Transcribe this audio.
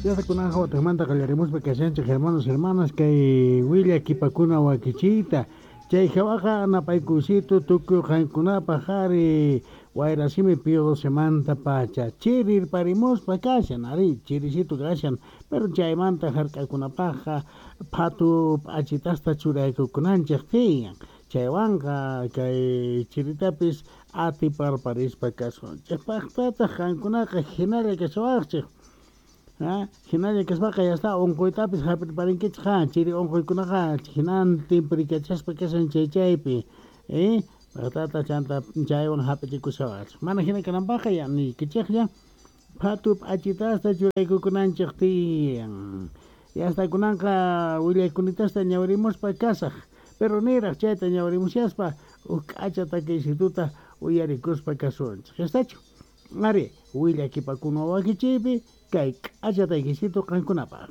Yasta kunanqa watejmanta qallarimuspa kashanchej, hermanos, hermanas, kay willakipakuna wakichiyta. Chay jawaqa napaykuysito tukuy qankunapaj ari wayrasimi Pío Docemanta pacha chirirparimuspa kashan, ari chirisito kashan, pero chaymanta jark'akunapajqa phatu p'achitasta churaykukunanchej tiyan. Chaywanqa kay chiritapis atiparparispa kasunchej. Pajtataj qankunaqa jinalla kashawajchej. Jinalla kaspaqa ya está onqoytapis jap'irparinkichej, ha, chiri onqoykunaqa jinantin prikachaspa kashan chay chaypi. Pajtata chanta chaywan jap'ichikushawajchej. Mana jina kananpajqa ya niykichejlla phatu p'achitasta churaykukunanchej tiyan. Ya está kunanqa willaykunitasta ñawirimuspa kasaj. Pero niraj chayta ñawirimushaspa uj k'acha takiysituta uyarikuspa kasunchej. Yastachu? Ari, willakipakuna wakichiypi kay k'acha takiysito qankunapaj.